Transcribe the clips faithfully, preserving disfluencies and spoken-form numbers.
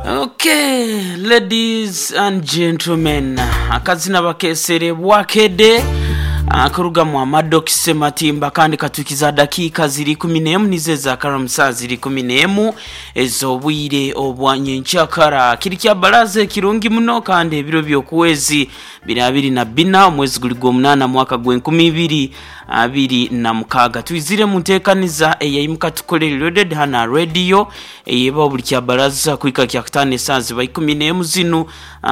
Okay, ladies and gentlemen, akazina bakesere bwakede akuruga mu Amadokise Matimba, kandi katukiza dakiika ziri kumi n'emu nizo ezakara saa ziri kumi n'emu ez'obwire obwa nyenkyakara. Kiri kya baraza ekirungi muno, kandi ebiro by'okwezi biri abiri na bina, omwezi guli gw'omunaana, mwaka gw'enkumi ibiri abiri na mukaaga. Twizire mu nteekaniza eyaimuka tukolere loaded hana radio eyeba buli kya baraza kuhika kya kutaano esaaha ziba ikumi n'emu zinu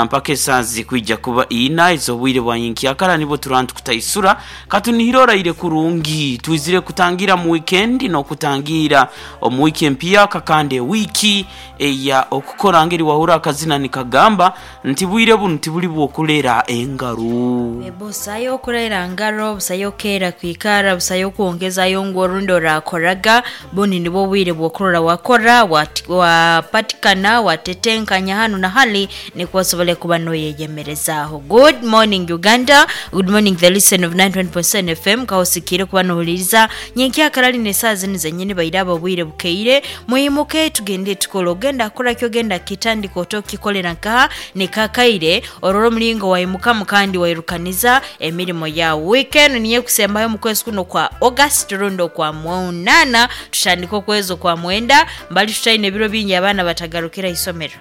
mpaka esaaha zikwija kuba ina ez'obwire bwa nyenkyakara, nibwo turantu kutaisura katunihire oraire kurungi. Twizire kutangira mu weekend n'okutangira omu wiki empyaka, kandi ewiki eya okukora ngeri wahura akazina nikagamba nti bwire bunu tibuli bwokulera engaro. Busayo okurera ngaro, busayo okera kwikara, busayo okwongezayo ngu orundi orakoraga. Buni nibwo bwire bwokurora wakora, wapatikana, watetenkanya hanu na hali nikwo osobole kuba noyeyemerezaaho. Good morning Uganda, good morning the listen of ninety-one point seven F M. Kaosikire kuba nohuliriza nyenkyakara line saa zinu zenyini bairaba obwire bukeire. Muyimuke tugende tukole, ogenda kora kyo genda kitandika otokikolera nkaha nikakaire ororo mulingo waimuka mukandi wairukaniza emirimo ya weekend. Niye kusembayo mu kwezi kuno kwa August rundo kwa munana, tutandika okwezi kwa mwenda mbali tutaine ebiro bingi abaana batagarukira isomero.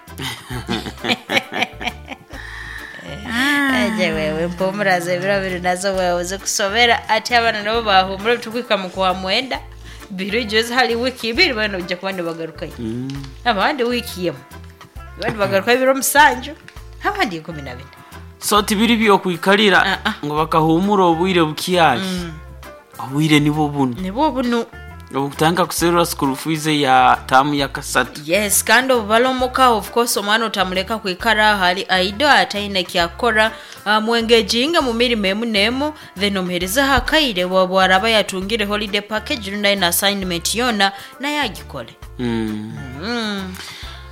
Aje wewe mpumuraze ebiro biri nazo wewe uze kusomera ati abaana nabo bahumura tukwika mu kwa mwenda biro jozi hali wiki ibiri bano ujja kuba nibagarukayo. Mm. Abandi wiki yemu abandi bagarukayo ibiro musanju, abandi ikumi na bina. So tibiri byokwikalira uh -uh. ngo bakahumura obwire bukyali. Mm. Obwire nibwo buno nibwo buno obutanga kuserura school fees ya tamu ya kasatu. Yes, kandi obalomuka of course omwana otamuleka kwikara hali aido ataine kyakora, uh, mwengejinga mu mirimo emu nemu, then omuhereza hakaire bwaraba yatungire holiday package rundi na assignment yona naye agikole. Mm. Mm.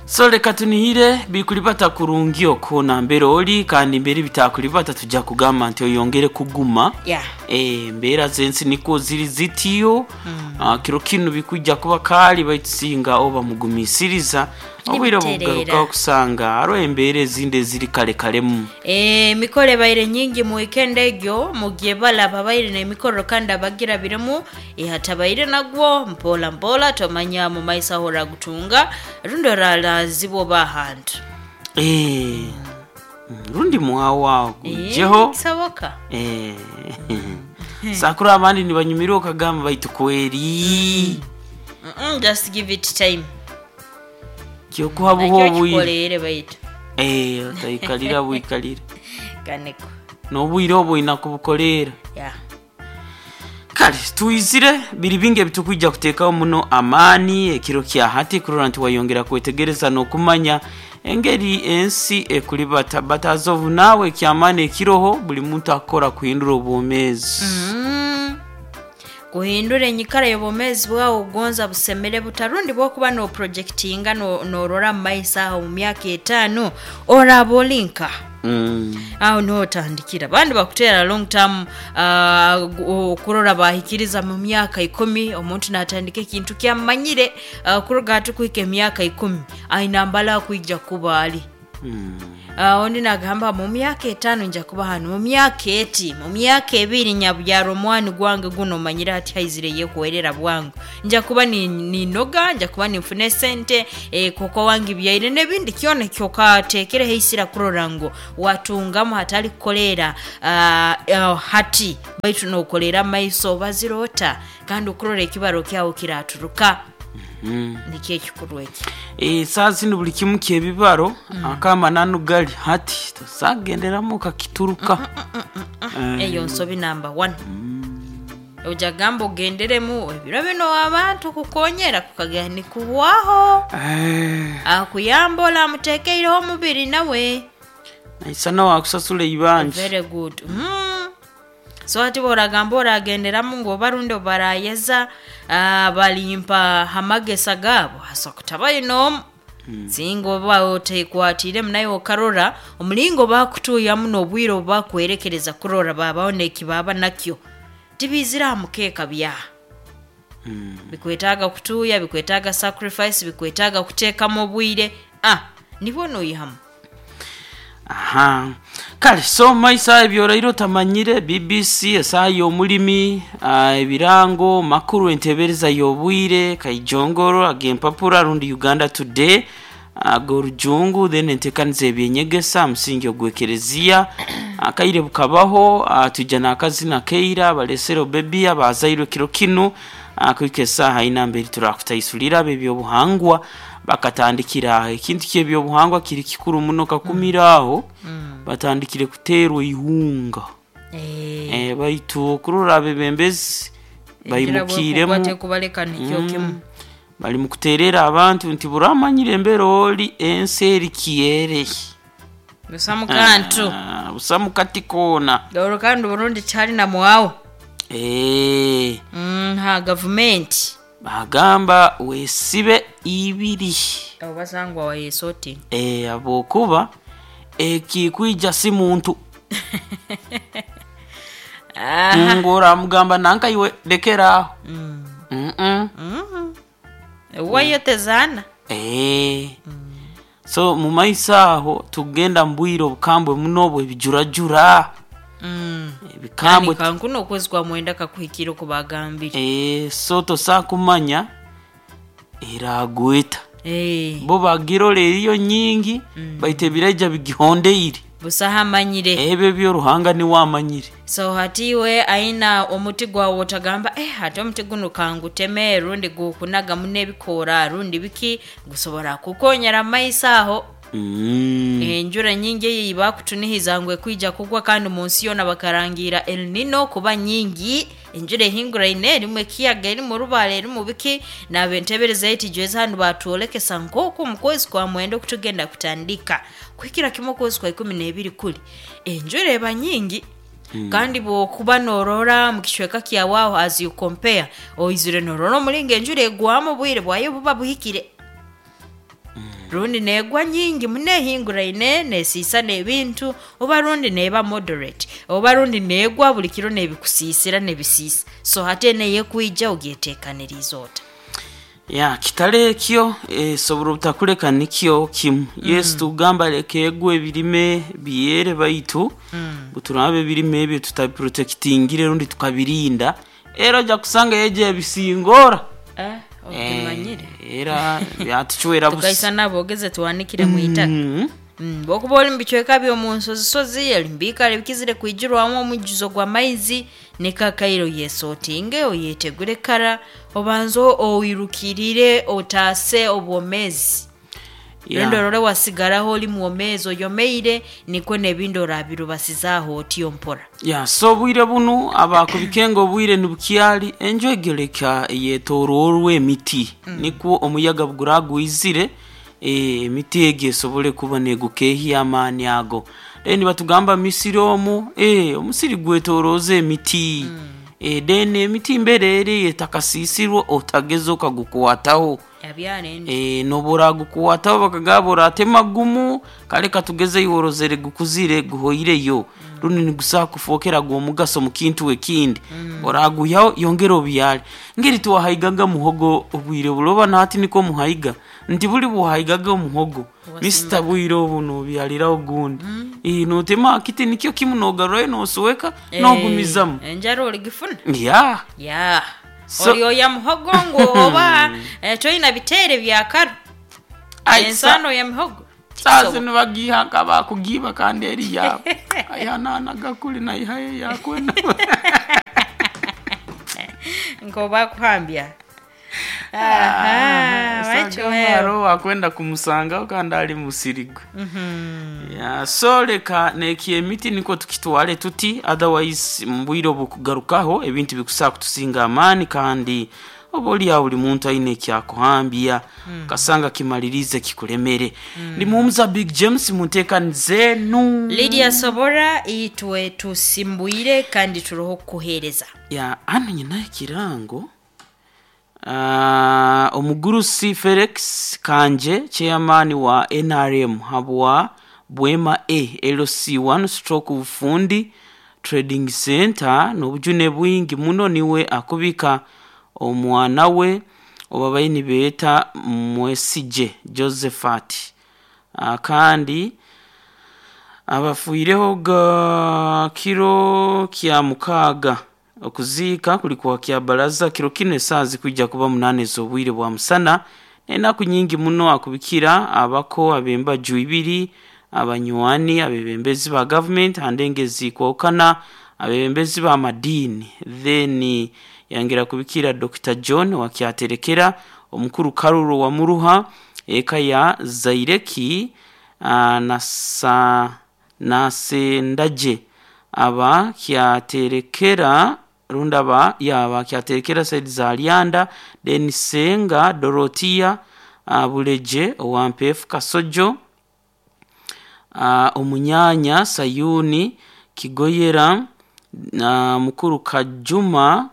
So leka tunihire bikulibata kurungi okona mbere oli kandi mbere bitakulibata tujja kugamba nti oyongere kuguma. Yeah. Eh, mbera zensi niko ziri zitiyo. Mm. Uh, kiro kinu bikujja kuba kali baitusinga oba mugumisiriza obwire bugaruka okusanga aro embere ezindi ziri kale kalemu. Eh, mikole baire nyingi mu weekend egyo mugiye balaba baire n'emikoro kandi abagira biremu ihatabaire nagwo mpola mpola tomanya mu maisa hora gutunga rundo ralazibwo bahantu. Eh, rundi mwawa gujeho e, sawoka. Eh, sakura abandi nibanyumira okagamba baitu kweri. Mm -mm, just give it time. Kyokuha buho bwire baitu. Eh, otaikalira bwikalira. Kaneko. Nobwire obwo inakubukolera. Yeah. Kale tuizire biri bingi ebitukwija kuteekawo muno amaani ekiro kya hati kurora nti wayongera kwetegereza n'okumanya engeri ensi ekulibata batazovu nawe ekyamaani ekiroho buli muntu akora kuhindura obwomeezi. Mm. Kuhindura enyikara y'obwomeezi bwawe ogonza busemere butarundi bwokuba no projectinga no norora mu maiso aho mu myaka etaano oraba olinka. Mm. Aho niho otandikira abandi bakutera long term, uh, kurora bahikiriza mu myaka ikumi omuntu natandika ekintu kyamanyire, uh, kuruga hati kuhika emyaka ikumi aina mbala kwija kuba ali. Mm. Uh, ondi nagamba mu myaka etaano nja kuba hano, mu myaka eti, mu myaka ebiri nyabyaro omwani gwange guno manyire hati haizire yekuwerera bwangu nja kuba ninoga, nja kuba ninfune sente, e, koko wange byaire n'ebindi kyona kyokatekere heisira kurora ngo watungamu hatali kukolera uh, uh, hati baitu nokolera maiso bazirota kandi okurora ekibaro kyawo kiraturuka. Mm. Nikyo ekikuru eki. Eh, saa zino buli kimu kyebibaro. Mm. Akamananu gali hati tosagenderamu kakituruka. Mm, mm, mm, mm, mm. Eyo nsobi number one. Mm. Ojagamba ogenderemu ebiro bino abantu kukonyera kukagani kuwaho. Eh. Akuyambola amutekeireho omubiri nawe. Naisana wakusasula ibanja. Very good. Mm. So ati boragamba oragenderamu ngo barundi barayeza, uh, balimpa hamagesa gabo hasa kutabayo no Mm. Singo ba otekwatire munayo okarora omulingo bakutuya muno obwiro bakwerekereza kurora babaone ekibaba nakyo tibizira mukeka bya. Mm. Bikwetaaga kutuya, bikwetaaga sacrifice, bikwetaaga kuteekamu obwire. Ah, Nibwo noyihamu. Aha, kale so maisa ebyorairo tamanyire B B C esaha y'omulimi, uh, ebirango makuru entebereza y'obwire kaijongoro ag'empapura rundi Uganda Today ag'orujungu, then entekaniza ebyenyegesa musingi ogw'ekereziya akaire bukabaho, uh, tuija n'akazina keira balesero bebi abazairwe kiro kinu kuhika esaaha ina mberi turakutaisulira ebyobuhangwa bakatandikira ekintu ky'ebyobuhangwa kiri kikuru muno kakumira aho mm. Batandikire kuterwa ihunga eh eh baitu kurora abebembezi bayimukiremu kubaleka nikyo kimu bali mukuterera abantu nti buramanyire embera oli ensi eri kiere busamu kantu ah, busamu kati kona doro kandi Burundi cyari na mwawo eh mm, ha government bagamba wesibe ibiri abo basangwa wayesoti eh abokuba ekikwija si muntu ngora mugamba nanka iwe lekera mm. mm -mm. mm. wayotezana eh mm. So mu maisa aho tugenda mbwiro obukambwe muno bwe bijurajura mm. ebikambwe kankuno okwezi kwa mwenda kakuhikira okubagambire eh so tosa kumanya eragweta eh bo bagirole eriyo nyingi mm. baite bireja bigihondeire busahamanyire ebyo byo Ruhanga ni wamanyire so hatiwe aina omuti gwawe otagamba eh hati omuti guno kanguteme rundi gukunaga munebikora rundi biki gusobora kukonyera maisa aho mm. enjura nyingi eyi bakutunihiza ngwe kwija kugwa kandi munsi yona bakarangira El Nino kuba nyingi enjura ehinguraine erimu ekiyaga erimu rubale erimu biki nabentebereza eti jweza hanu batwolekesa nk'oku mu kwezi kwa mwenda okutugenda kutandika kuhikira kimwe okwezi kwa ikumi n'ebiri kuli enjura eba nyingi Mm. Kandi bwokuba norora mu kicweka kyawe aho as you compare oizire norora omulingo enjura egwamu obwire bwayo buba buhikire mm. Rundi negwa nyingi munehinguraine nesiisa n'ebintu oba rundi neba moderate oba rundi negwa buli kiro nebikusiisira nebisiisa so hate neyekwija ogyeteekaniriza ota ya kitale ekyo esobora obutakuleka nikyo kimu mm. Yesu tugamba leka egwe ebirime byere baitu mm. Buturabe ebirime ebyo tutabiprotectingire rundi tukabirinda era ojja kusanga yeje ebisingora eh okimanyire era byatuchwera busa tukaisa nabogeze tuwanikire mu itaka mm. Mm, bwokuba oli mubicweka by'omu nsozisozi elimbikale bikizire kwijirwamu omujjuzo gw'amaizi nikakaire oyesotinge oyetegure kara obanze oirukirire otaase obwomezi Yeah. rundi orore wasigaraho oli mwomezi oyomeire nikwo n'ebindi orabirubasizaho otyo mpora ya so obwire bunu abakubikenga obwire nibukyali enjwegereka yetooroorwa emiti mm. Nikwo omuyaga buguragwizire emiti egi esobole kuba negukehya amaani ago then batugamba misiri omu eh omusiri gwetoroza emiti mm. eh then emiti mbere eri etakasisirwe otageza okagukwataho abyarende eh nobora gukwataho bakagabura atema gumu kale katugeze yorozere gukuzire guhoireyo mm. Rundi nigusa kufokera gwo mugaso mu kintu ekindi mm. Oraguyaho yongera obyale ngeri tuwahaigaga muhogo obwire buloba nati niko muhaiga nti buli buhaigaga omuhogo Mister bwire obuno byalira ogundi mm. Eh notema akiti nikyo kimu nogarwayo nosuweka eh, nogumizamu enjara oligifuna ya ya So- oli oya muhogo ngu oba eh, toyina bitere byakaro ensano ya mihogo sasa nibagiha bakugiba kandi eri yabo ayananaga kuli naihaye yakwena ngo bakuhambya aha sagamaro wakwenda kumusangaho kandi ali musirigwe ya so leka nekiye emiti niko tukitwale tuti otherwise mbwire obukugarukaho ebintu bikusaa kutusinga amaani kandi oba oliawo buli muntu aine ekyakuhambya mm. Kasanga kimalirize kikulemere mm. Ndi Big James munteekanize nu Lydia Sobora itwe tusimbuire kandi turoho kukuhereza ya ano nyina ekirango uh, omugurusi Felix Kanje chairman wa N R M habwa Bwema A L C one stroke ufundi trading center n'obujune bwingi muno niwe akubika omwana we obabayi nibeeta Mwesije Josephat uh, kandi abafuireho ga kiro kya mukaaga. Okuziika kuli kwa kya baraza kiro kino esaaha zikwijja kuba munaana ez'obwire bwa musana. Enaku nyingi muno akubikira abako ab'embaju ibiri, abanywani, abebembezi ba gavumenti handengezi kwokana abebembezi ba madiini. Then yangira kubikira Doctor John wakyaterekera omukuru Karuro wa Muruha eka ya Zaireki uh, nasa nasendaje aba kyaterekera rundaba yaba kyaterekera Said Zalianda then Senga Dorotia uh, Buleje owampefu Kasojo uh, omunyanya Sayuni Kigoyera na uh, mukuru Kajuma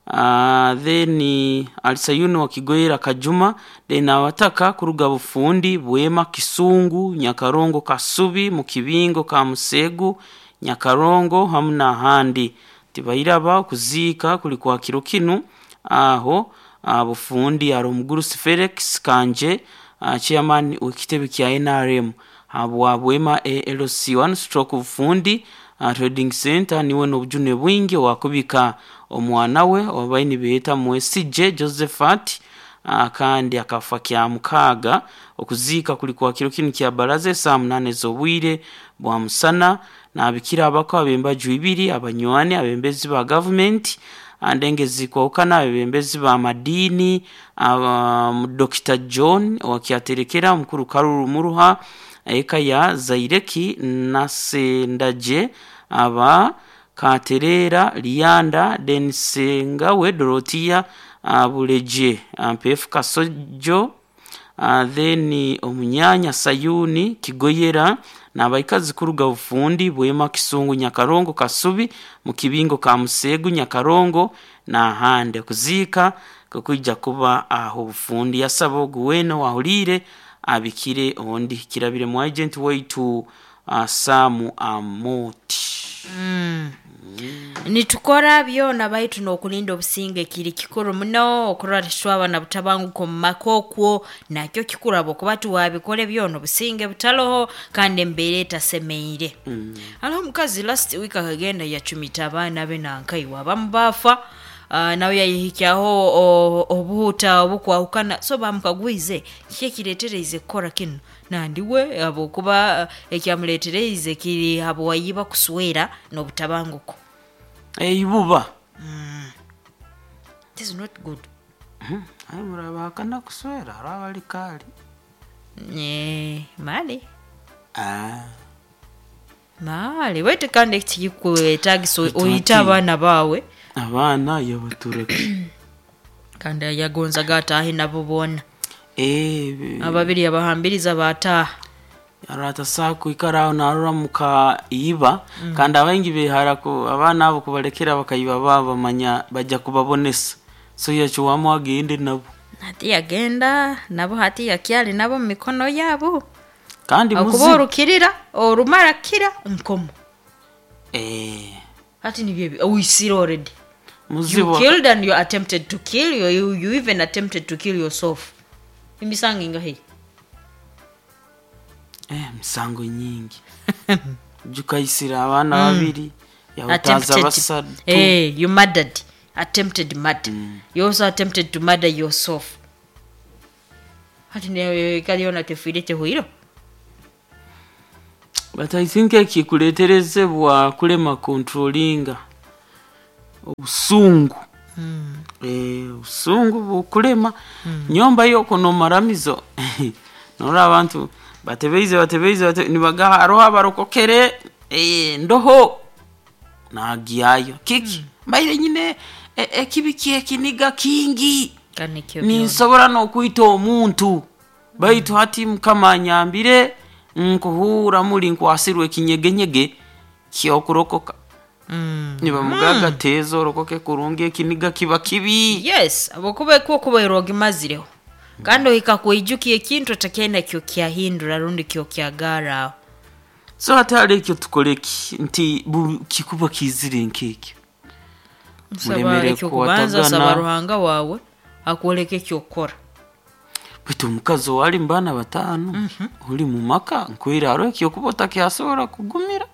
uh, then Alisayuni wa Kigoyera Kajuma then abataka kuruga Bufundi Bwema Kisungu Nyakarongo Kasubi Mukibingo Kamusegu Nyakarongo hamu n'ahandi. Tibairaba kuziika kuli kwa kiro kinu aho uh, Bufundi ari omugurusi Felix Kanje uh, chairman w'ekitebe kya N R M habwa Bwema A L C one stroke Bufundi uh, trading center niwe n'obujune bwingi wakubika omwana we obaini beeta Mwesije Josephat uh, kandi akafa kya mukaaga. Okuziika kuli kwa kiro kinu kya baraza saa munane z'obwire bwa musana. Nabikira abako abembaju ibiri, abanywani, abembezi ba government andengezi kwokana abembezi ba madini uh, Doctor John wakyaterekera mukuru Karuru Muruha eka ya Zaireki nasendaje aba Katerera Lianda Densengawe Dorotia uh, Buleje Ampefu Kasojo uh, then omunyanya Sayuni Kigoyera n'abaikazi kuruga Bufundi Bwema Kisungu Nyakarongo Kasubi Mukibingo Kamusegu Nyakarongo n'ahandi. Kuziika kukwijja kuba aho Bufundi. Yasaba oguweno wahulire abikire ondi kirabire mu agent waitu uh, Samu Amoti. Mm. Mm. Nitukora byona baitu n'okulinda obusinge kiri kikuru muno okurora titwaba na butabanguko mu maka okwo nakyo kikurabo kuba tuwabikole byona obusinge butaloho kandi embeera etasemeire. Mm. Hariho omukazi last week akagenda yacumita abaana be nankaiwe abamu baafa uh, nawe yayihikyaho obuhuta obukwahukana so bamukagwize kiki ekireetereize kukora kinu nandiwe habwokuba ekyamuleetereize kiri habwayiba kuswera n'obutabanguko eibuba. Mm. This is not good. Mm. Ayi murabahakana kuswera arabali kali eh mali ah mali wete kandi ekikuetagisa oyita abaana baawe abaana yabatureke kandi yagonzaga ataahe nabo boona eh ababiri yabahambiriza bataaha arata kwikara aho narora muka iba. Mm. Kandi abaingi behara ku abaana abo kubalekera bakayiba baba bamanya bajja kubabonesa so yachuwamu agende nabo hati yagenda nabo hati yakyali nabo mu mikono yabo kandi akuba orukirira orumara kira nkomo eh hati nibyo uisire already muzibu you killed and you attempted to kill you, you, you even attempted to kill yourself. Imisango ingahe? Eh misango nyingi. Jukaisira abana babiri yahutaza basatu. Eh you murdered, attempted murder. Mm. You also attempted to murder yourself. Hati ne kaliona tefire tehuiro. But I think ekikuleterezebwa kulema controllinga obusungu. Mm. Eh obusungu bukulema. Mm. Nyomba yoko no maramizo. Nora abantu batebeize batebeize bate, nibagaha aroha barokokere eh ndoho nagiyayo kiki. Mm. Mbaire nyine ekibi e, ekiniga kingi ninsobora nokwita omuntu baitu hati Mukama anyambire nkuhura muli nkwasirwe ekinyegenyege kyokurokoka. Mm. Nibamugaga mm. tezo orokoke kurungi ekiniga kiba kibi. Yes, abokuba kuba ogimazireho kandi ohika kwijukia ekintu otakenda kyo kyahindura rundi kyo kyagara. So hatari ekyo tukoleki nti kikuba kizire nkekyo. Muremere kubanza saba Ruhanga wawe akwoleke ekyokukora. Baitu omukazi owali mu baana bataano ori mu maka nkwire hariho ekyokuba otakyasobora kugumira.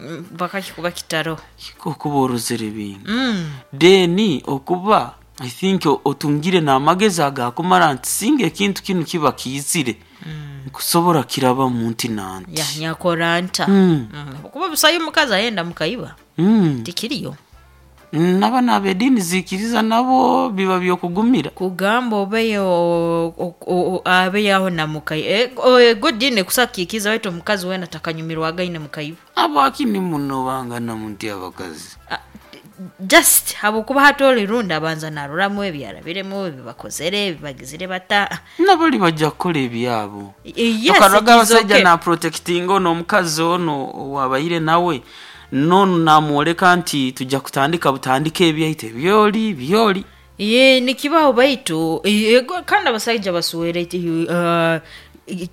Mm, bakakikuba kitaro. Okuba orozere bingi. Mm. Then okuba I think o- otungire n'amagezi agakumara nti singa ekintu kinu kiba kiizire nkusobora kiraba munti nanti. Ya nyakora nta. Mm. Mm. Kuba busayo omukazi ayenda mukaiba Mm. tikiriyo. N'abaana ab'ediini ziikiriza nabo biba byokugumira. Kugamba obeyo o- o- o- abeyaho na mukai e, o- ego dini kusakikiza waitu omukazi wena takanyumirwaga ine mukaiba. Abakini muno bangana munti abakazi. Ah, just habwokuba hati rundi abanza naruramu ebyarabiremu ebibakozere ebibagizire bata. Nabali bajja kukola ebyabo. Eh, yes, Tokaroga it is abasajja okay. na protecting ono omukazi ono wabayire nawe nono namwoleka nti tujja kutandika butandika ebyaitu ebyoli byoli. Ye nikibaho baitu ego kandi abasajja basuwere uh,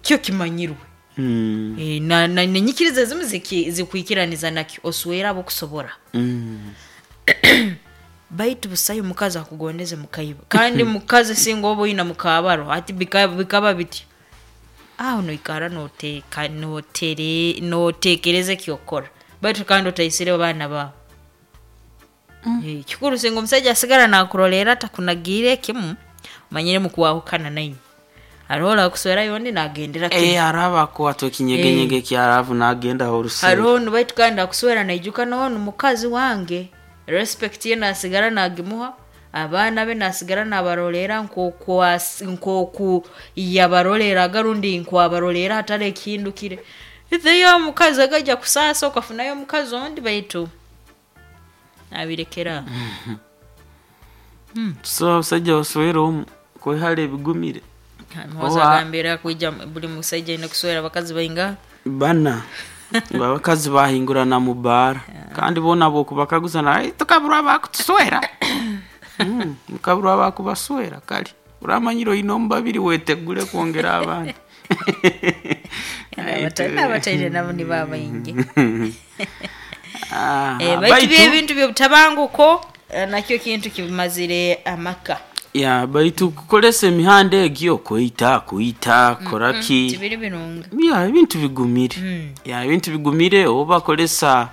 kyo kimanyirwe. Mm. Eh, na, na nenyikiriza ezimu ziki- zikwikiraniza nakyo oswera abokusobora. Mm. Baitu busayo omukazi akugondeze mukaiba kandi mukazi singa oba oyina mukabaro ati bika- bikaba biti aho noikara noteka notere notekereza ekyokora baitu kandi otaisire abaana bawe. Mm. Kikuru singa omusajja asigara nakurolera atakunagiire kimu omanyire mukwahukana nainywe hariho orakuswera yondi nagendera kimu. Eh, araba akwatwa ekinyegenyege kyaravu nagenda orusero. Hariho nu baitu kandi akuswera naijuka noonu mukazi wange respect ye nasigara nagimuha abaana be nasigara nabarolera nkoku as- nkoku yabaroleraga rundi nkwabarolera hatari ekihindukire theyo omukazi agajja kusaasa okafunayo omukazi ondi baitu abirekera. So abasajja baswera omu kwehara ebigumire. Muhoza Oba- agambira kwija buli musajja aine kuswera abakazi bainga. Bana abakazi bahingurana mu baara kandi bona bokubakaguza na tukaburwa bakutuswera. Mm, mukaburwa bakubaswera kali uramanyire oyina omu babiri wetegule kwongera abandi. N'abataire nabo ni babaingi. Ah, Eh, baitu byo ebintu byobutabanguko eh, nakyo kintu kibimazire amaka. Ya baitu kukolesa emihanda egyo kwita kwita koraki. Tibiri birungi. Ya ebintu bigumire. Ya ebintu bigumire oba bakolesa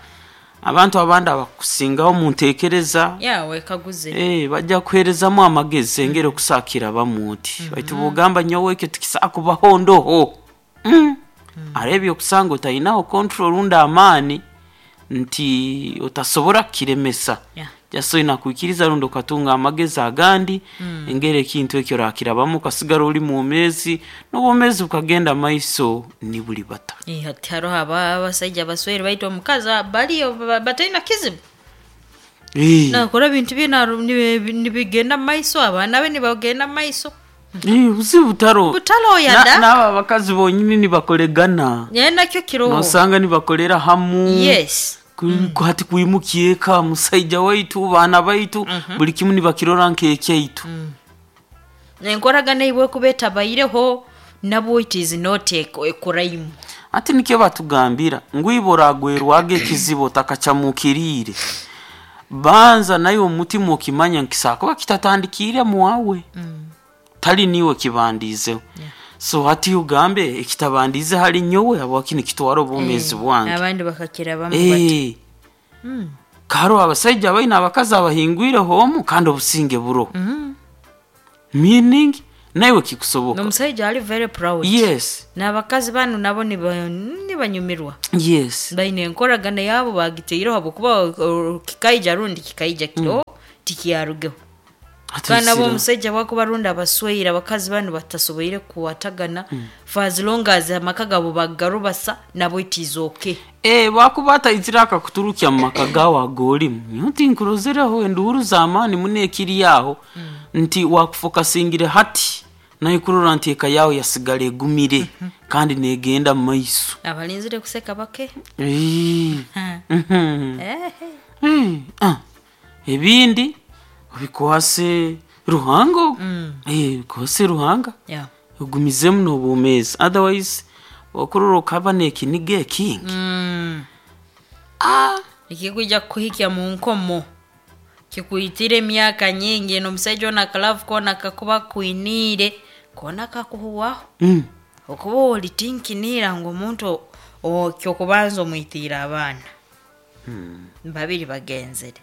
abantu abandi abakusingaho mu ntekereza. Ya wekaguze. Eh, bajja kuherezamu amagezi engeri okusakira bamuti baitu bugamba nyowe ekyo tikisakubaho ndoho. Mm. Arebye okusanga otayinaho control rundi amaani nti otasobora kukiremesa. Yeah. Just oyina kwikiriza rundi okatunga amagezi agandi engeri ekintu ekyo orakirabamu okasigara ori mwomezi n'obwomezi bukagenda maiso ni buli bata. Eh, hati hariho aba- abasajja baswere baitu omukazi baliyo ba- bataina kizibu. Eh, Nakora ebintu bye naru- nibi- nibigenda mu maiso abaana be nibagenda mu maiso. eh, buzibu butaro. Butaro yada. Na- n'abo abakazi bonyini nibakoregana. Naye nakyo kiroho. Nosanga nibakolera hamu. Yes. Ku- ku- hati kwimukia eka musaija waitu baana baitu buli kimu nibakirora nk'ekyaitu. Enkoragana eibwe kuba etabaireho nabwo it is not a a crime. Ati nikyo batugambira ngu iba oragwerwaga ekizibu otakacamukiriire banza naye omutima okimanya nkisakuba kitatandikiire mwawe tali niwe kibandiizeho. So hati ugambe ekitabandiize hali nyowe habwaki nikitwara obwomeezi bwange. Abandi bakakirabamu bati. Eh. Karo abasaija baina abakazi abahingwireho omu kandi obusinge buro. Meaning naiwe kikusoboka. N'omusajja ali very proud. Yes. N'abakazi banu nabo niba- nibanyumirwa. Yes. Baine enkoragana yabo bagiteireho habwokuba uh, kikaija rundi kikaija kiro tikiyarugeho. Ati Kandi nabo sira. omusajja bwakuba rundi abasweire abakazi banu batasoboire kuwatagana for as long as amaka gabo bagarubasa nabo it is okay. Eh, bakuba ataizire akakuturukya mu maka gawe ag'olimu nti nkurozereho enduhuru z'amaani muno ekiri aho nti wakufokasingire hati naye kurora nti eka yawe yasigala egumire kandi negenda mu maiso. Abalinzire kuseka bake. Eh. Ha. Mhm. Eh. Eh, ah. Ebindi obikwase Ruhanga ogu. Eh, bikwase Ruhanga Yeah. ogumizemu n'obwomeezi otherwise okurora okaba n'ekiniga ekingi. Mm. Ah. Ekikwija kukuhikya mu nkomo kikuitire emyaka nyingi n'omusajja ono akalavu koona kakuba kwiniire Kona kakuhuwaho. Mm. Okuba olitinkinira ngu omuntu kyokubanza omwitiire abaana. Babiri bagenzere.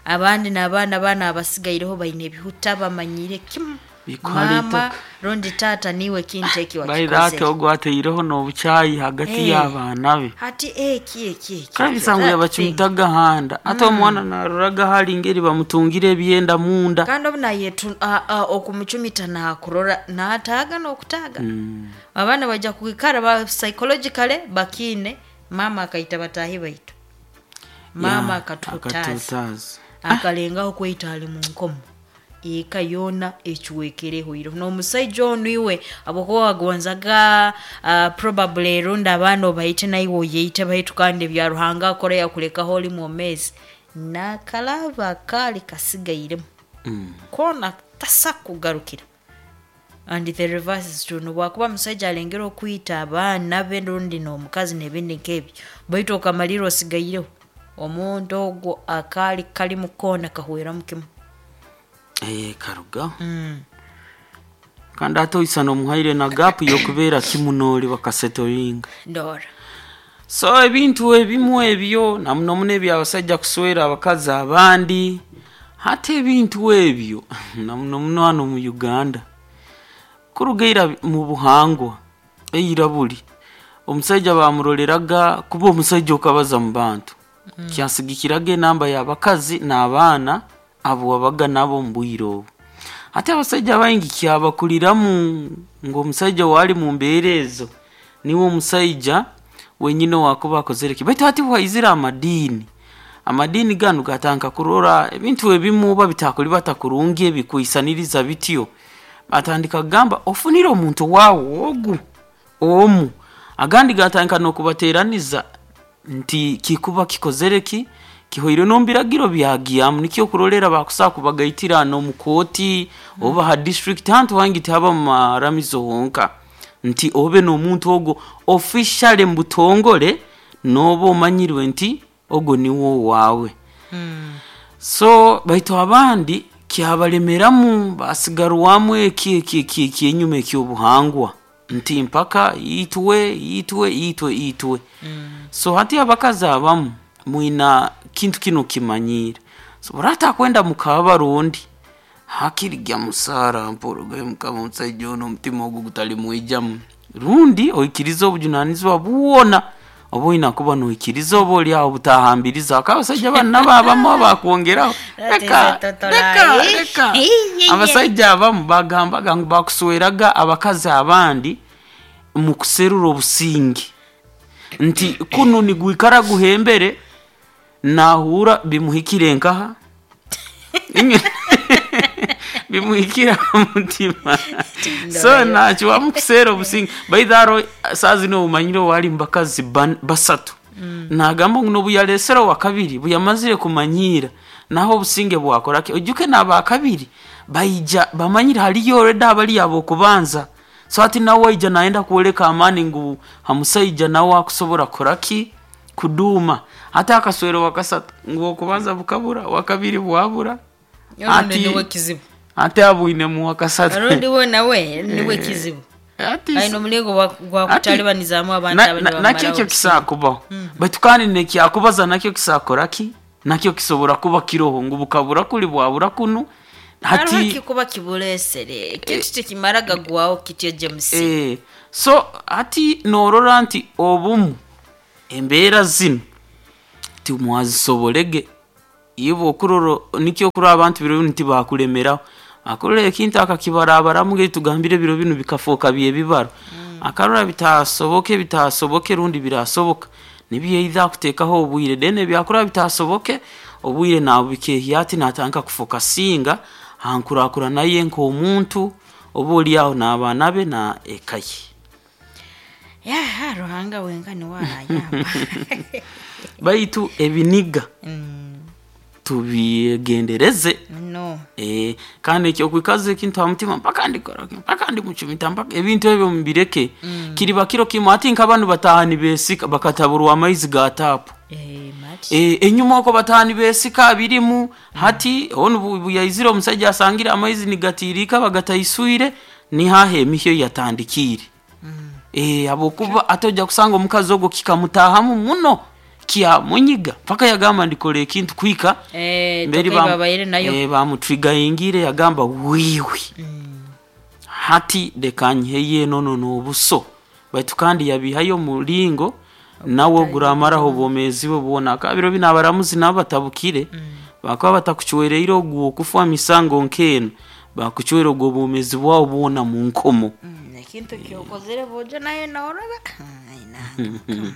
Abandi n'abaana bana abasigaireho baine ebihuta bamanyire kimu. Bikwara Mama itaka. rundi taata niwe kintu eki Baira ati wakikozere. ogwo ataireho n'obukyayi hagati Eh. y'abaana be. Hati eki eki eki. Kandi eki, bisango that thing. yabacumitaga handa ate omwana naroraga hali ngeri bamutungire ebyenda munda. Kandi obu nayetu a- a- okumucumita nakurora nataaga n'okutaaga. Abaana bajja kwikara ba psychologically bakiine mama akaita bataahi baitu. Mama Ya, akatuhutaza. akatuhutaza. Akalengaho kwita ali mu nkomo. Eka yoona ekiwekereho iro n'omusaija onu iwe habwokuba wagonzaga uh, probably rundi abaana obaite naiwe oyeite baitu kandi ebya Ruhanga akora yakulekaho oli mwomeezi n'akalaba kaali kasigairemu. Mm. Koona tasa kugarukira. And the reverse is true. Nobwakuba musaija alengera okwita abaana be rundi n'omukazi n'ebindi nk'ebyo baitu okamalira osigaireho omuntu ogwo akaali kali mu koona kahweramu kimu. Eh, karugaho. Mm. Kandi ate oisana omuhaire na gapu y'okubeera kimu n'oli bakasetoringa. Ndora. So ebintu ebimu ebyo namuno muno ebyabasajja kuswera abakazi abandi hati ebintu ebyo namuno muno hano mu Uganda kurugaira mu buhangwa eira buli omusajja bamuroreraga kuba omusajja okabaza mu bantu. Mm. Kyasigikiraga enamba y'abakazi n'abaana abo wabaga nabo mu bwire obu. Ate abasajja baingi kyabakuliramu ng'omusajja wali mu mbeera ezo niwe omusajja wenyine wakuba akozere ki. Baitu hati bwaizire amadiini, amadiini ganu gatandika kurora ebintu ebimu oba bitakuli batakurungi ebikwisaniriza bityo, batandika kugamba ofunire omuntu waawe ogu omu. Agandi gatandika n'okubateeraniza nti kikuba kikozere ki kihoire n'omu byagyamu nikyo kurolera bakusaa kubagaitira n'omu kooti oba ha district hantu hangi tihaba mu maramizo honka nti obe n'omuntu ogwo officially mu butongole n'oba omanyirwe nti ogwo niwo waawe. Mm. So baitu abandi kyabalemeramu basigarwamu eki eki eki eki enyuma eky'obuhangwa nti mpaka itwe itwe itwe itwe. Mm. So hati abakazi abamu mwina kintu kino kimanyire. So burata kwenda mukaba rundi hakirigya musara mporogayo mukama omusajja ono omutima ogwo gutali mwijamu rundi oikiriza obujunanizibwa bwona oba oina kuba noikiriza oba oli aho butahambiriza akaba abasajja bano nabo abamu abakwongeraho That is reka a total reka lie. reka abasajja abamu bagambaga ngu bakusweraga abakazi abandi mu kuserura obusinge nti kunu nigwikara guhembere nahura bimuhikire nkaha bimuhikira mutima so nakyo wamukuseera obusinge baitharo saa zino omanyire wali mubakazi ban- basatu. Mm. Nagamba ngu nobuyalesera wa kabiri buyamazire kumanyira naho obusinge bwakoraki ojuke n'abakabiri baija bamanyire haliyo already abali abo okubanza. So ati nawe waija naenda kwoleka amani ngu hamusaija nawe akusobora koraki kuduuma ate akaswero wakasatu ngu okubanza bukabura wakabiri bwabura Ati niwe kizibu. ate abwinemu wakasatu Rundi we nawe niwe kizibu. Ati Aino omulingo gwa kutalibanizaamu abantu na- abandi na- bamaraho nakyo ekyo obusinge. kisakubaho baitu kandi nekyakubaza nakyo kisakoraki nakyo kisobora kuba kiroho ngu bukabura kuli bwabura kunu Hariho hati ekikuba kibuleesere ekintu tekimara gagwaho kityo James. eh, so hati norora nti obumu embeera zino timwazisoborege iwe okurora nikyo okurora abantu biro binu tibakulemeraho akurora ekintu akakibarabaramu ngeri tugambire ebiro binu bikafuuka byebibaro. Mm. Akarora bitasoboke bitasoboke rundi birasoboka nibyo either akuteekaho obwire then ebyakurora bitasoboke obwire nabukehya ati natandika kufokasinga hankurakurana ye nk'omuntu oba oli aho n'abaana be na eka ye. Ya Ruhanga wenka niwe arayamba. Baitu ebiniga Mm. tubyegendereze. No. Eh, kandi ekyokwikaza ekintu ha mutima mpaka ndikora mpaka ndimucumita mpaka ebintu ebyo mubireke. Mm. Kiriba kiro kimu ati nk'abantu bataaha nibesika bakataburwa amaizi ga taapu. Eh, mati. Eh, enyuma oko bataaha nibesika birimu. Mm. Hati onu buyaizire omusajja asangire amaizi nigatiirika bagataiswire Nihaha emihyo yatandikiire. Eh, habwokuba ate ojja kusanga omukazi ogwo kikamutahamu muno, kyamunyiga paka yagamba ndikora ekintu kwika. Eh, mberi tokai bam- babaire nayo. eh, bamutrigayingire yagamba wiwi, hati leka nyiheye enono n'obuso. Baitu kandi yabihayo omulingo nawe guramaraho obwomeezi bwe bwona. Akabiro bino abaramuzi nabo batabukire, bakaba batakucwereire ogwo okufa misango nk'eno, bakucwera ogwo obwomeezi bwawe bwona mu nkomo. Mm, ekintu kyokozere bojo nayo naoraba. Ai, nange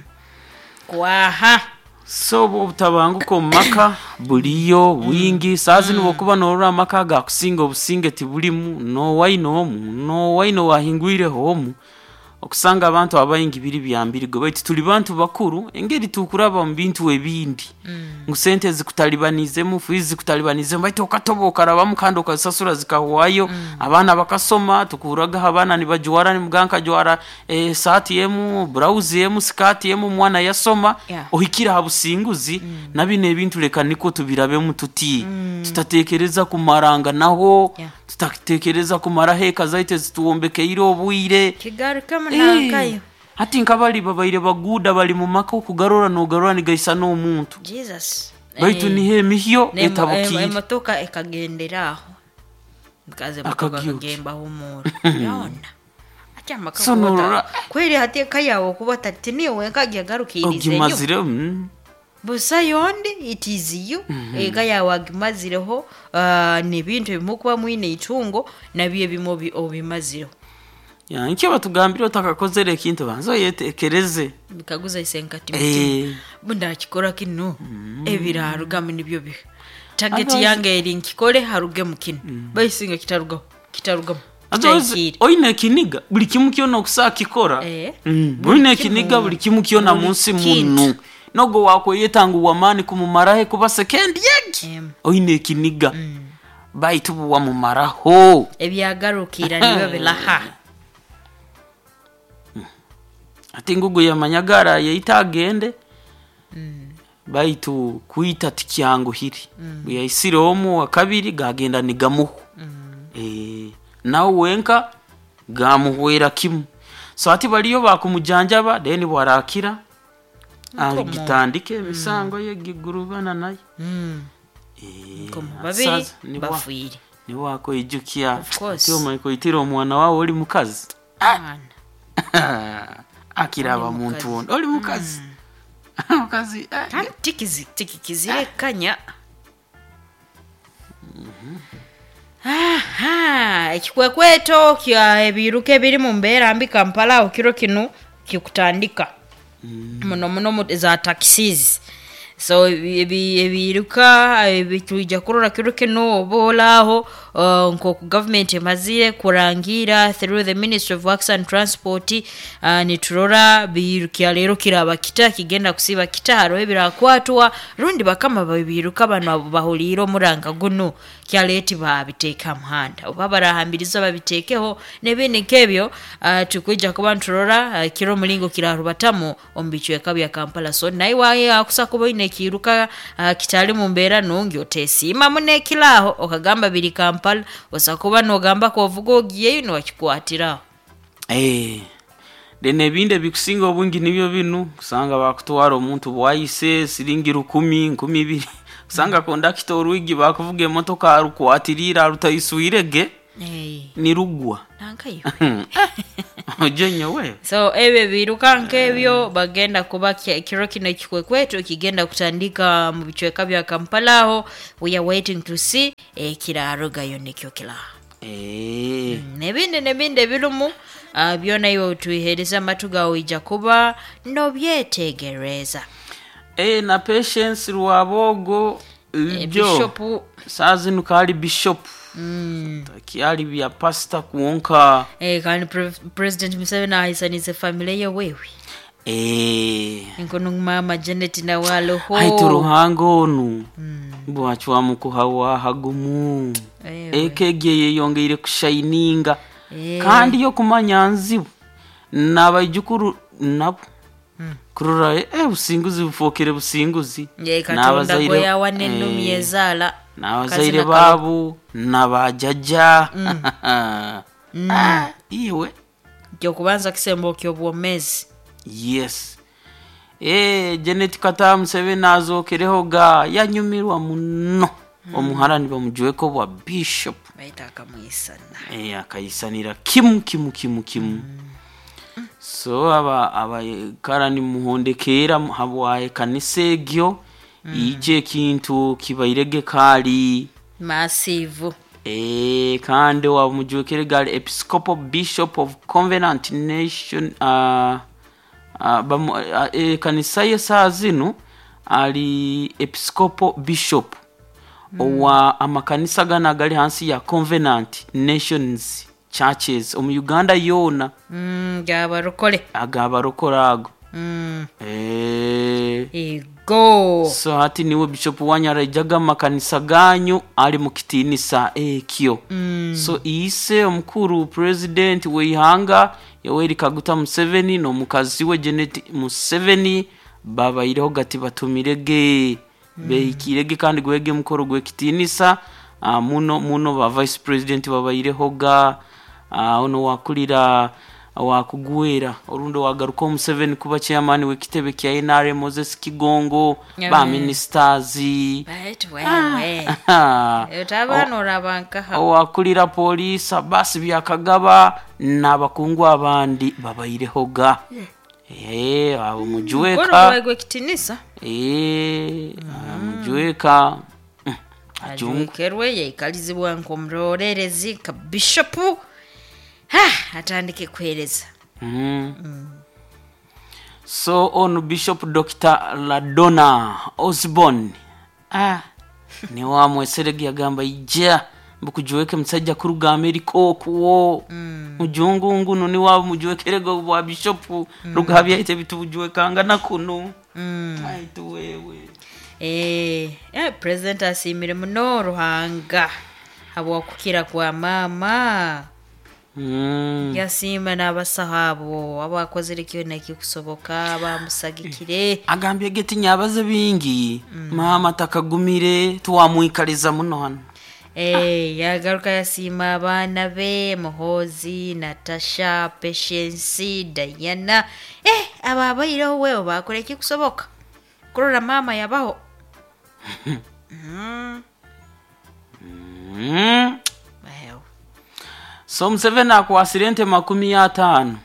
kwaha. So obwo obutabanguko omu maka buliyo bwingi. Saa zinu bwokuba norora amaka gakusinga obusinge tibulimu, nowaine omu nowaine wahingwireho omu, okusanga abantu abaingi biri byambirigo. Baitu tuli bantu bakuru, engeri tukuraba mu bintu ebindi, ngu sente zikutalibanizemu, fees zikutalibanizemu, baitu okatoba okarabamu kandi okazisasura zikahwayo. Abaana bakasoma, tukuragaho abaana nibajwara, nimuganka jwara eh, saati emu, blouse emu, sikati emu, omwana yasoma. Yeah. Ohikire aha businguzi. Na bino ebintu leka niko tubirabemu tuti, tutatekereza kumaranga naho, Yeah. tutatekereza kumaraho eka zaitu ezituwombekeire obwire. Kigarukamu Eh, nankayo. Hati nkabali babaire baguda bali mu maka, okugarora nogarora nigaisa n'omuntu. Jesus. Baitu Eh, niho emihyo nemo- etabukiire. Emotoka ekagendera aho, mukazi emotoka Akagyuki. akagembaho omuro yona ati amaka So kuba norora- ta- kweri hati eka yawe okuba tati niyo wenka agiagarukirize enyo. Ogimazire, mm. Busa yondi, it is you. Eka yawe agimazireho, ah, n'ebintu ebimu kuba mwine itungo nabyo ebimu obi- obimazireho. Ya, nkyo batugambire otakakozere ekintu banza oyetekereze. Bikaguza isenkati Eh. bundakikora kino, ebirarugamu nibyo biha target Otherwise- yange eri nkikore harugemu kino, baisinga kitarugaho, kitarugamu, Otherwise, kitahikiire. oine ekiniga buli kimu kyona okusaa kikora. Eh. Mm, Buli oine kimu. ekiniga buli kimu kyona Buli mu nsi kintu. muno, nogo wakweyeta ngu wamaani kumumaraho kuba sekendi yegi. Em. Oine ekiniga, baitu buwamumaraho. Ebyagarukira nibyo bilaha. Ati ngugu yamanyaga arayeita agende, baitu kwita tikyanguhire. Bwe yaisire omu wa kabiri gagenda nigamuhu. Eh, nawe wenka gamuhwera kimu. So ati baliyo bakumujanjaba, then bwarakira agitandike emisango ye gigurubana nayo. Mm. Eh, Nkomo ati babiri sasa nibwa- bafiire. niwakoijukya. Of course. Ati omaikoitira omwana wawe oli mukazi. Mwana. Akiraba Oli muntu mukazi. wondo oli mukazi, mukazi eh. Kandi tikizi- tikikizirekanya. Aha, ekikwekweto kya ebiruka ebiri mu mbeera mbi Kampala aho kiro kinu kikutandika muno muno mu- za taxis. So ebi- ebi- ebiruka ebitwija kurora kiro kino oba olaaho, uh, nk'oku gavumenti emazire kurangira through the Ministry of Works and Transport, uh, niturora birukya leero kiraba kita kigenda kusiba kita, hariho ebirakwatwa rundi bakama babiruka bano abo bahuliire omuranga guno kyaleeti babiteeka muhanda oba barahambiriza babiteekeho n'ebindi nk'ebyo. uh, tukwija kuba niturora uh, kiro omulingo kirarubatamu omu bicweka bya Kampala. So naye waye akusa kuba oine ekiruka uh, kitali mu mbeera nungi, oteesiimamu n'ekiraaho okagamba biri Kampala, osa kuba nogamba kovuga ogiyeyo niwakikwatiraho. Eh, then ebindi ebikusinga obungi nibyo binu kusanga bakutwara omuntu bwayise siringi rukumi, nkumi ibiri, kusanga kondakita orwigi bakuvuga emotoka arukwatirira arutaiswirege. Hey, Nirugwa. nankayo. Ojo nyowe. So ebyo biruka nk'ebyo bagenda kuba ki- kiro kino ekikwekweto kigenda kutandika mu bicweka bya Kampala aho. We are waiting to see ekirarugayo nikyo kiraha. Eh, N'ebindi n'ebindi ebirimu, ah, byona iwe otuihereza amatu gawe ija kuba nobyetegereza. Eh, na Patience Rwabogo Eh, ibyo Bishop. saa zinu kali bishop, kyali bya pasita kwonka. Eh, kandi pre- president Museveni ahisanize family ye wewe. Eh, Nkono mama Janet nawe aloho. Haitu Ruhanga onu bwacwamukuhawa hagumu. Ewe. Eka egyo yeyongeire kushayininga. Eh. Kandi yo kumanya nzibu n'abaijukuru nabo kurora eh, businguzi bufokere businguzi. Ye Katonda N'abazaire- gwe yawa n'ennumi eh, ezaala. n'abazaire Kazina kalo- baabo n'abajaja. mm. Ah, iwe Kyokubanza kisembo ky'obwomezi. Yes, e, Janet Kataha Museveni azokereho ga yanyumirwa muno mm. Omuhara nibamujweka obwa bishop. Baita akamwisana. E, akayisanira kimu kimu kimu kimu mm. So aba abakarani muhondekeera habwa ekanisa egyo mm. Ije ekintu kibairege kaali Massive. E, kandi wamujwekere gali Episcopal Bishop of Covenant Nation uh, uh, bamu, uh, e, kanisa ye saa zinu ali Episcopal Bishop mm. Owa amakanisa gana agali hansi ya Covenant Nations Churches omu Uganda yoona. Mm, gabarokole. Agabarokore ago. Mm. E, Ego. So hati niwe bishop wanyu araijaga amakanisa ganyu ali mukitinisa ekyo mm. So ise omukuru president weihanga Yoweri Kaguta Museveni n'omukazi we Janet Museveni babaireho gati batumirege mm. Behikirege kandi gwege mukoro gwekitinisa uh, muno muno ba vice president babaireho ga uh, ono wakulira wakugwera orundo wagaruka Museveni kuba chairman w'ekitebe kya N R M Moses Kigongo Yeah. Ba ministers. Baitu wewe. Otabana orabankaha. Owakulira police Abbas Byakagaba n'abakungu abandi babaireho ga eh abo mujweka. Mukoro gwe kitinisa. Eh mujweka. Ajungu. Ajwekerwe yaikalizibwa nk'omurorerezi ka bishop. Ha, atandike kuhereza. Mm. Mm. So ono Bishop Doctor Ladonna Osborne ah ni wamweserege yagamba ija mbukujuweke musajja kuruga Amerika okuwo mm. Mujungu nguno ni wa mujuwekerego bwa bishop mm. Rugabya bitubujuwekanga na kuno mm. Aitu wewe. Eh, eh, president asimire muno Ruhanga habwokukira kwa mama. Mm. Yasima n'abasaho abo abakozere kyona ekikusoboka bamusagikire. Agambye geti nyabaze bingi mm. Mama takagumire tuwamwikaliza muno hano. Eh, yagaruka yasima abaana be Muhozi, Natasha, Patience, Diana. Eh, aba abaireho wewe bakora ekikusoboka kurora mama yabaho. Mm. Mm. Well. So Museveni akwasire ente makumi ataano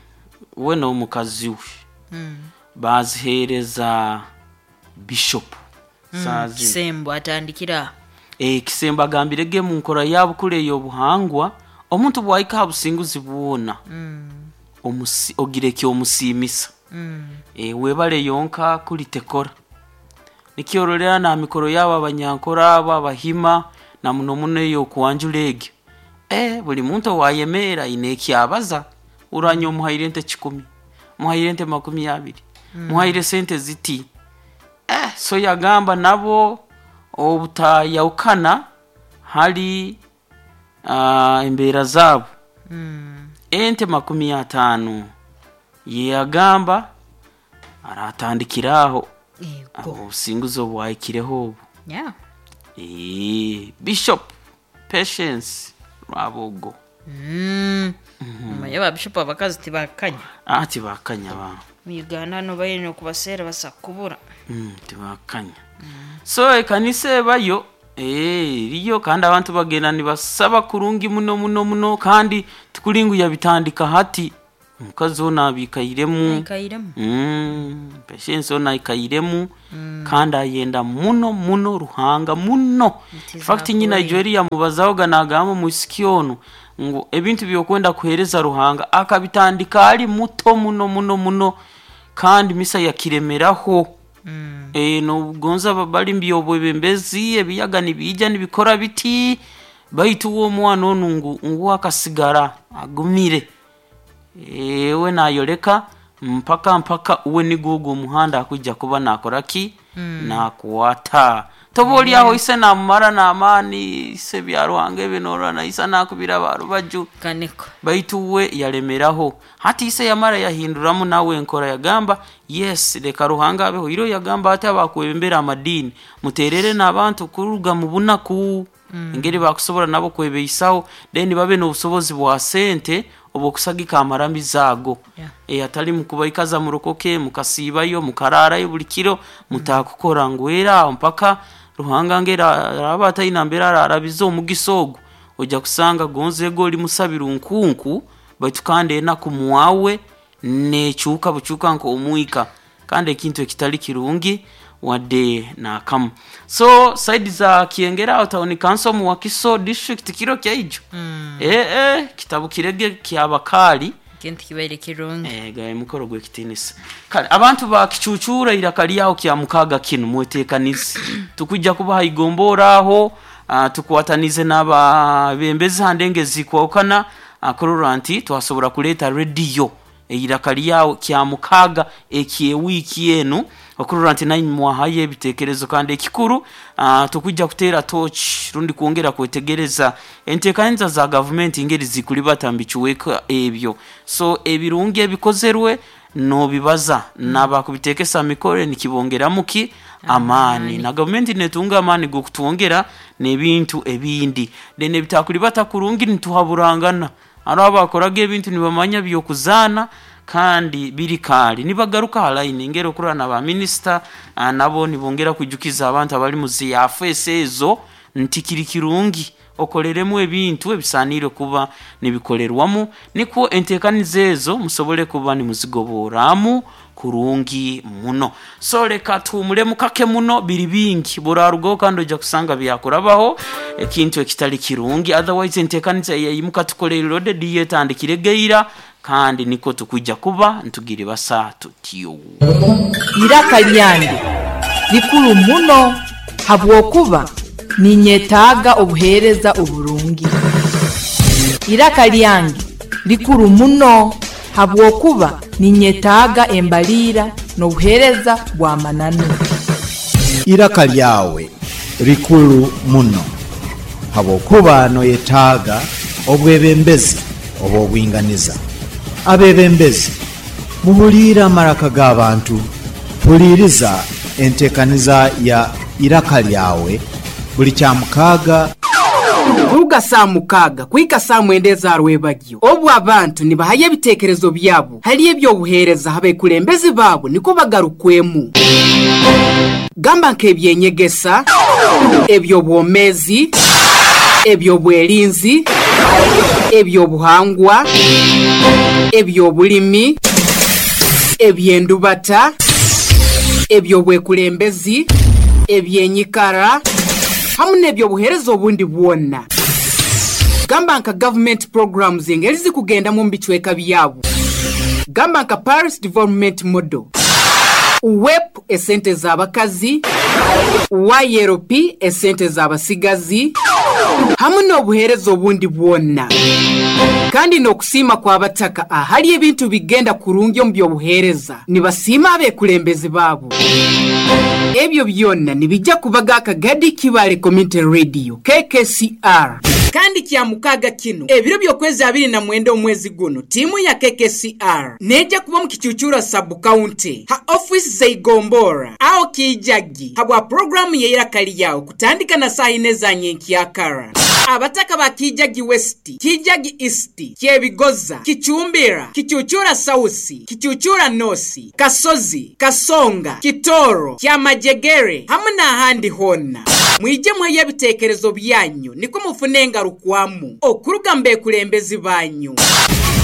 we n'omukazi we Mm. baziheereza bishop Mm. saa zino. Kisembo atandikira. Eh, Kisembo agambire ge mu nkora yabukule ey'obuhangwa omuntu bwahika aha businguzi bwona Mm. omusi, ogira ekyomusiimisa Mm. e, webale yonka kulitekora nikyororera na mikoro yabo abanyankora abo abahima na muno muno ey'okuwanjura egyo e, buli muntu owayemeera aine ekyabaza uranya omuhaire ente kikumi muhaire ente makumi abiri mm. Muhaire sente ziti eh, so yagamba nabo obutayawukana hali uh, embeera zaabo Mm. Ente makumi ataano yeyagamba aratandikira aho. Ego. Obusinguzi obwahikireho obu. Yeah. Eh, Bishop Patience Rwabogo. Mm. Manye ba bishop abakazi tibakanya. Ah, tibakanya ba. Mu Uganda no bayine okubaseera basakubura. Mm, tibakanya. So ekanisa ebayo eh eriyo kandi abantu bagenda nibasaba kurungi muno muno muno kandi tikulingu yabitandika hati omukazi ono abikairemu. Ikairemu. Mm, Patience ono aikairemu mm. Kandi ayenda muno muno Ruhanga muno. Nti In fact nyina zakuri. Joeli yamubazahoga nagamba omwisiki ono ngu ebintu byokwenda kuhereza Ruhanga akabitandika ali muto muno muno muno kandi misa yakiremeraho. Mm. E, nobugonza bali mbyobwebembezi ebiyaga nibiija nibikora biti baitu uwo omwana onu ngu ngu akasigara agumire ewe nayoleka mpaka mpaka uwe nigugu omuhanda akujja kuba nakora ki mm. Nakuwata toba oli aho ise namumara n'amaani ise bya Ruhanga ebinorana isa nakubira barubaju Kaniko. Baitu we yalemeraho hati ise yamara yahinduramu nawe enkora yagamba yes leka Ruhanga abeho iro yagamba ati abakwebembera amadini muterere n'abantu kuruga mu bunaku mm. Engeri bakusobola nabo kwebeisaho then babe n'obusobozi bwa sente obwokusagika amaramizo ago. Yeah. E, atali mukubaikaza murokoke mukasiibayo mukararayo buli kiro mutakukora ngu era aho mpaka Ruhanga ngera araba ataina mbera ararabiza omugisa ogwo ojja kusanga gonze oli musabira nkunku baitu kandi enaku mwawe nekyuka bukyuka nk'omwika kandi ekintu ekitali kirungi wadde nakamu. So side za Kiengera aho town council mu Wakiso district kiro kyaijo mm. eh eh kitabu kirege kyabakali Kintu kibaire kirungi. Eh, gaye mukoro gw'ekitinisa. Kale abantu bakicucura iraka lyaho kya mukaga kino mweteekanize. Tukujja kubaha igombora aho uh, tukwatanize n'ababembezi handenge zikwawukana akorora nti twasobora kuleeta rediyo eiraka lyawo kya mukaga ekyewiiki enu okurora nti naimwe mwahayo ebiteekerezo kandi ekikuru uh, tukujja kuteera tochi rundi kwongera kwetegereza enteekaniza za gavumenti ngeri zikulibata mbikiweka ebyo. So ebirungi ebikozerwe nobibaza nabakubiteekesa mikore nikibongeramuki amaani na gavumenti netunga amaani g'okutwongera n'ebintu ebindi then ebitakulibata kurungi nituhaburangana hariho abakoraga ebintu nibamanya byokuzaana kandi biri kaali nibagaruka ha line ngeri okurora na ba minisita ah, nabo nibongera kwijukiza abantu abali mu ziyafeesi ezo nti kiri kirungi okoreremu ebintu ebisaaniire kuba nibikolerwamu nikwo enteekaniza ezo musobole kuba nimuzigoboramu kurungi muno. So leka tuhumulemu kake muno biri bingi burarugaho kandi ojja kusanga byakurabaho ekintu ekitali kirungi. Otherwise enteekaniza eyayimuka tukolere loaded yetandikire geira kandi niko tukujja kuba ntugire basa tutyo. Iraka lyange likuru muno habwokuba ninyetaaga obuheereza oburungi. Iraka lyange likuru muno habwokuba ninyetaaga embaliira n'obuheereza bw'amananu. Iraka lyawe likulu muno habwokuba noyetaaga obwebembezi obw'obwinganiza. Abebembezi muhuliire amaraka g'abantu, huliiriza enteekaniza ya iraka lyawe buli kyamukaaga. Kuruga saa mukaaga kuhika saa mwenda ezarwebagyo obu abantu nibahayo ebiteekerezo byabo hali ebyobuheereza abekulembezi baabo niko bagarukwemu gamba nk'ebyenyegesa, ebyobwomeezi, ebyobwerinzi, ebyobuhangwa, ebyobulimi, ebyendubata, ebyobwekulembezi, ebyenyikara hamu n'ebyobuheereza obundi bwonna. Gamba nka government programs engeri zikugendamu mu bicweka byabo. Gamba nka Paris Development Model, U W E P esente z'abakazi, Y L P esente z'abasigazi, hamu n'obuheereza obundi bwonna. Kandi n'okusiima kw'abataka ahali ebintu bigenda kurungi omu by'obuheereza nibasiima abekulembezi baabo. Ebyo byonna nibijja kubaga akagadi Kibale Community Radio K K C R. Kandi kya mukaaga kino ebiro by'okwezi abiri na mwenda omwezi guno tiimu ya K K C R nejja kuba mu Kicucura sub county ha office zeigombora aho Kijagi habwa programu y'eiraka lyawo kutandika na saa ine za nyenkyakara. Abataka ba Kijagi West, Kijagi East, Kyebigoza, Kichumbira, Kichuchura South, Kichuchura North, Kasozi, Kasonga, Kitoro, Kyamajegere hamwe n'ahandi honna. Mwije mweyo ebiteekerezo byanyu niko mufune engarukwamu okuruga mbekulembezi banyu.